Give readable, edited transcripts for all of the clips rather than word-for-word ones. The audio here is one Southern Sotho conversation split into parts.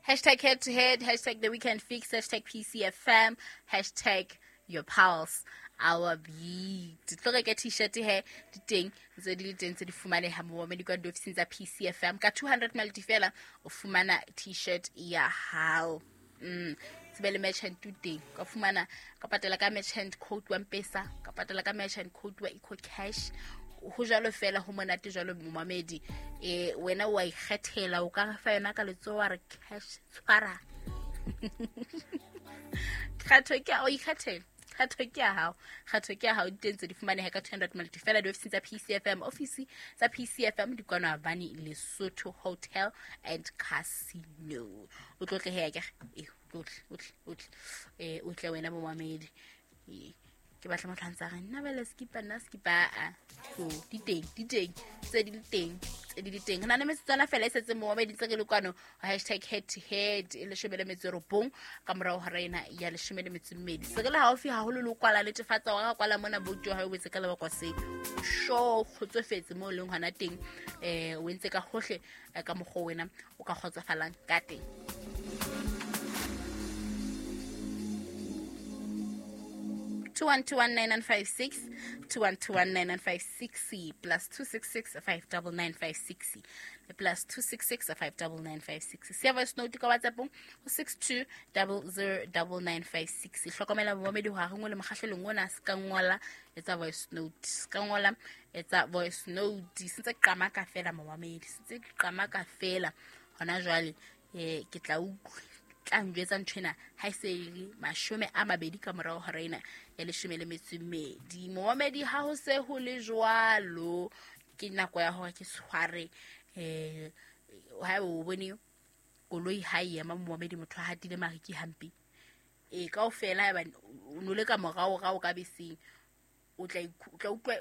Hashtag head to head, hashtag the weekend fix, hashtag PCFM, hashtag your pulse, our beat. Tlo reka t-shirt he di teng ntse di le teng tse di fumaneha momamedi kwa diofising tsa PCFM ka 200 malti fela o fumana t-shirt ya hao. Tsebe le merchant o teng, ka fumana ka patala ka merchant code wa M-Pesa, ka patala ka merchant code wa Eco Cash. Ho jwalo fela, ho monate jwalo momamedi. Wena wa ikgethela, o ka fa yona ka letsoho wa re cash tshwara. Kgetho ke ya o ikgethela. Kgetho ke ya hao, kgetho ke ya hao. Di teng tse di fumaneha ka 200 malti fela diofising tsa PCFM. Ofisi tsa PCFM di kwano Havani Lesotho Hotel and Casino. O tlo tle he akere? O tle, o tle, o tle. O tle wena momamedi. Ke batla motho a ntse a re, nna bele skipa, nna skipa, a. So, di teng, di teng, tse di le teng, tse di le teng. Re na le metsotswana fela e setseng momamedi ntse re le kwano hashtag head to head e 19 ka morao hora ena ya 12. Se re le haufi haholo le ho kwala netefatsa hore ra kwala mona boutu ya hao o etse ka lebaka se. Sure, kgotsofetse moo o leng hona teng. O entse ka hohle ka mokgwa wena o ka kgotsofalang ka teng. 21219956, 21219956, plus 266 59956, plus 266 59956. Siya voice note ka WhatsApp ho six two double zero double nine five six. Hlokomela momamedi hore ha re ngole mokgahlelong ona, se ka ngola, etsa voice note. Se ka ngola, etsa voice note. Se ntse qamaka fela momamedi, se ntse qamaka fela hona jwale. Ke tla utlwa, tla njwetsa nthwena ha e se e le 20 ka morao hora ena ya 12. Momamedi, ha ho se ho le jwalo, ke nako ya hore ke tshware. Ha o bone koloi ha e ema momamedi, motho a hatile mariki hampe. Kaofela haeba o no le ka morao rao ka beseng, o tla o tla utlwa,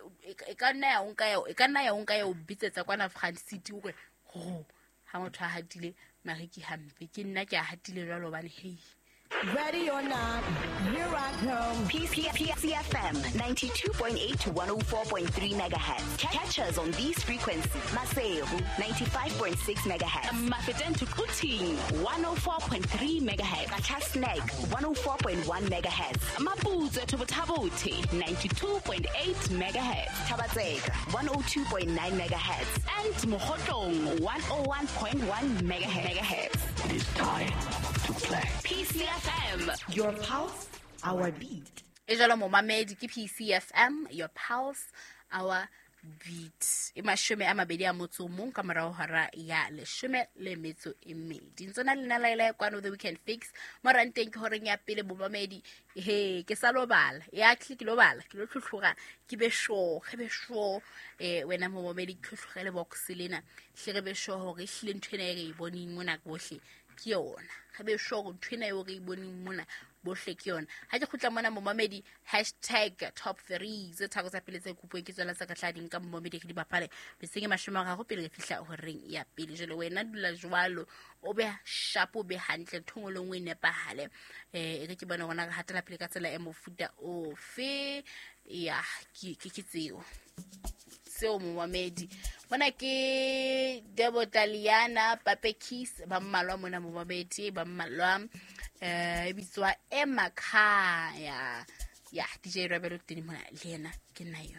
e ka nna ya o nka ya o, e ka nna ya o nka ya o bitsetsa kwana Front City hore, ho, ha motho a hatile mariki hampe. Ke nna ke a hatile jwalo hobane, hei. Ready or not, here I come. PCFM 92.8 to 104.3 megahertz. Catch us on these frequencies. Maseru 95.6 megahertz. Mafeteng to Quthing 104.3 megahertz. Qacha's Nek 104.1 megahertz. Maputsoe to Botha-Bothe 92.8 megahertz. Thaba-Tseka 102.9 megahertz. And Mokhotlong 101.1 megahertz. It is time to play. PCFM, your pulse, our beat. E jwalo momamedi ke PCFM, your pulse, our beat. E 21 ka morao hora ya 12. Ntse na le nna Laila kwano the weekend fix. Mo ranteng ke horeng ya pele momamedi, he ke sa lobala. Ya click lo bala, ke lo tlhotlhora, ke be sure, ke be sure. Wena momamedi ke tlhotlhorele box lena. Hle re be sure hore ehlile ntho ena e re e boneng mona bohle ke yona. Re be sure hore ntho ena eo re e boneng mona bohle ke yona. Ha ke kgutla mona momamedi, hashtag top 3 tse tharo tsa pele tse kopuweng ke tsona tsa ka tla di nka momamedi re di bapale. Beseng e 30 pele re fihla horeng ya pele. Jwale wena dula jwalo, o be sharp, o be hantle, ntho nngwe le nngwe e nepahale. E re ke bone rona re hatela pele ka tsela e mofuta ofe. Ya, ke tseo. Seo momamedi. Mona ke Debo Taliana, Pape Kiss, ba mmalwa mona momamedi, ba mmalwa. E bitswa Emakhaya. Ya, DJ Rebelo teng mona le yena ke nna yo.